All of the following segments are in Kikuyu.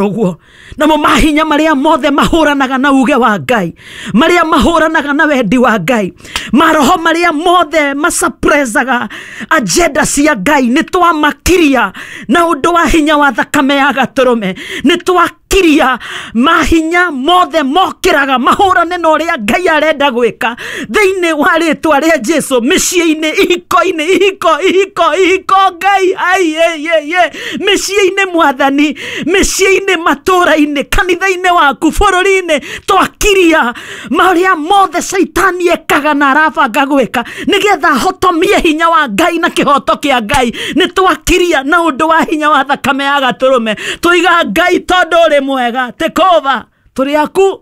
Ũguo namo mahinya marĩa mothe mahũranaga na uge wa Ngai, marĩa mahũranaga na wendi wa Ngai, maroho marĩa mothe masuppressaga agenda cia Ngai, nĩ twamakiria na ũndũ wa hinya wa thakame ya Gatũrũme. Nĩ twakiria mahinya mothe mokĩraga mahũrane na ũrĩa Ngai arenda gwĩka thĩinĩ wa rĩtwa rĩa Jesu, mĩciĩ-inĩ, ihiko-inĩ, ihiko, ihiko, ihiko, Ngai ai ye ye ye, mĩciĩ-inĩ Mwathani, mĩciĩ-inĩ, matũũra-inĩ, kanitha-inĩ waku, bũrũri-inĩ, twakiria marĩa mothe caitani ekaga na arabanga gwĩka nĩgetha ahotomie hinya wa Ngai na kĩhoto kĩa Ngai. Nĩ twakiria na ũndũ wa hinya wa thakame ya Gatũrũme. Tũiga Ngai tondũ ũrĩ mwega, take over, tũrĩ aku,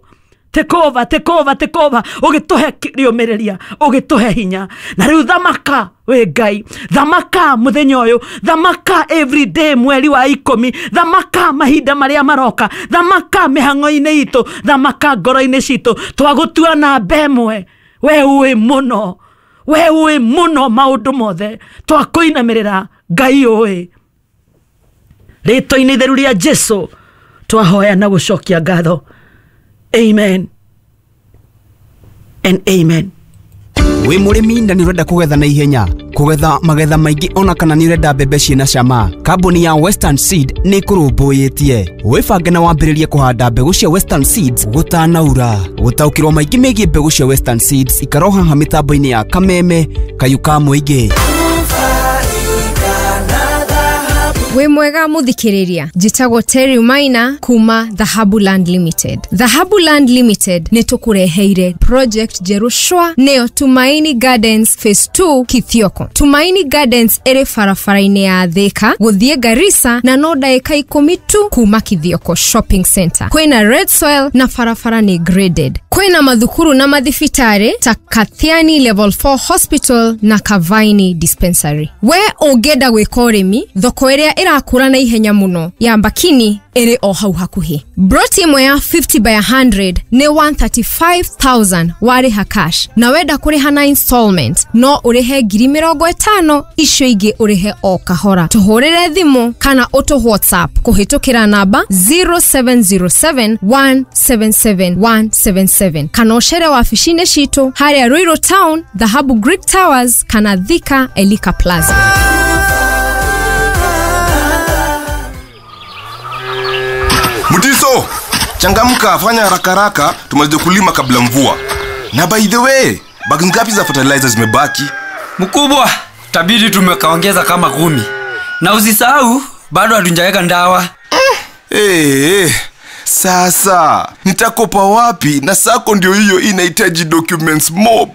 take over, take over, take over, ũgĩtũhe rĩũmĩrĩria, ũgĩtũhe hinya. Na rĩu thamaka wĩ Ngai, thamaka mũthenya ũyũ, thamaka everyday mweri wa 10, thamaka mahinda marĩa maroka, thamaka mĩhang'o-inĩ itũ, thamaka ngoro-inĩ citũ. Twagũtua namba ĩmwe, we ũĩ mũno, we ũĩ mũno maũndũ mothe, twakũinamĩrĩra Ngai ũĩ. Rĩtwa-inĩ itheru rĩa Jesu twahoya na gũcokia ngatho. Amen and amen. Wĩ mũrĩmi na nĩ ũrenda kũgetha na ihenya, kũgetha magetha maingĩ, ona kana nĩ ũrenda mbembe ciĩna cama, kambuni ya Western Seed nĩ ĩkũrũmbũyĩtie. Wĩbange na wambĩrĩrie kũhanda mbegũ cia Western Seeds gũtanaura. Gũtaũkĩrwo maingĩ megiĩ mbegũ cia Western Seeds, ikara haha mĩtambo-inĩ ya Kameme Kayu ka Mũingĩ. Wĩ mwega mũthikĩrĩria, njĩtagwo Terry Maina kuma Dhahabu Land Limited. Dhahabu Land Limited nĩ tũkũreheire project njerũ shwa, nĩyo Tumaini Gardens Phase 2 Kithioko. Tumaini Gardens ĩrĩ barabara-inĩ ya Thika gũthiĩ Garissa na no ndagĩka 10 tu kuma Kithioko Shopping Center. Kwĩna red soil na barabara nĩ graded. Kwĩna mathukuru na mathibitarĩ ta Kathiani Level 4 Hospital na Kavaini Dispensary. We ũngĩenda gwĩka ũrĩmi, thoko ĩrĩa ĩrakũra na ihenya mũno ya Mbakini ĩrĩ o hau hakuhĩ. Broti ĩmwe ya 50 by 100 nĩ 135,000 warĩha cash, na wenda kũrĩha na installment no ũrĩhe 50,000, icio ingĩ ũrĩhe o kahora. Tũhũrĩre thimũ kana ũtũ WhatsApp kũhĩtũkĩra namba 0707 177 177 kana ũcere wabici-inĩ citũ harĩa Ruiru Town, Dhahabu Greek Towers kana Thika Elika Plaza. Mutiso, changamka, fanya haraka haraka tumalize kulima kabla mvua. Na by the way, bagi ngapi za fertilizer zimebaki? Mkubwa, tabidi tumekaongeza kama 10. Na usisahau bado hatujaweka ndawa. Sasa nitakopa wapi na sako ndio hiyo inahitaji documents mob?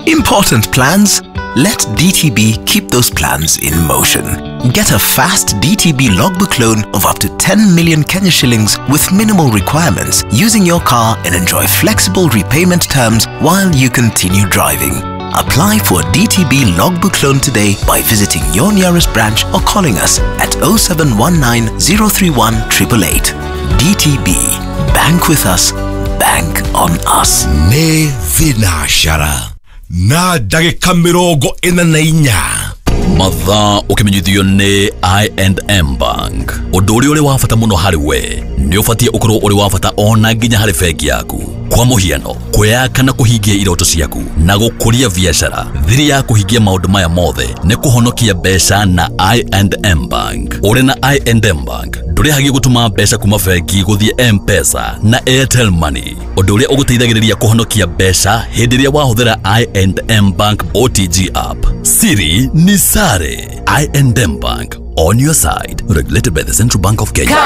Important plans? Let DTB keep those plans in motion. Get a fast DTB logbook loan of up to 10 million Kenya shillings with minimal requirements using your car and enjoy flexible repayment terms while you continue driving. Apply for a DTB logbook loan today by visiting your nearest branch or calling us at 0719 031 888. DTB. Bank with us. Bank on us. Nĩ thinacara na ndagĩka 44. Mathaa ũkĩmenyithio nĩ I&M Bank. Ũndũ ũrĩa ũrĩ wa bata mũno harĩ we nĩ ũbatiĩ ũkorwo ũrĩ wa bata ona nginya harĩ bengi yaku. Kwa mũhiano, kwĩyaka na kũhingia iroto ciaku na gũkũria biacara. Thiri ya kũhingia maũndũ maya mothe nĩ kũhonokia mbeca na I&M Bank. Ũrĩ na I&M Bank ndũrĩhagia gũtũma mbeca kuma bengi gũthiĩ M-Pesa na Airtel Money, ũndũ ũrĩa ũgũteithagĩrĩria kũhonokia mbeca hĩndĩ ĩrĩa wahũthĩra I&M Bank OTG app. Siri ni sare. I&M Bank, on your side. Regulated by the Central Bank of Kenya.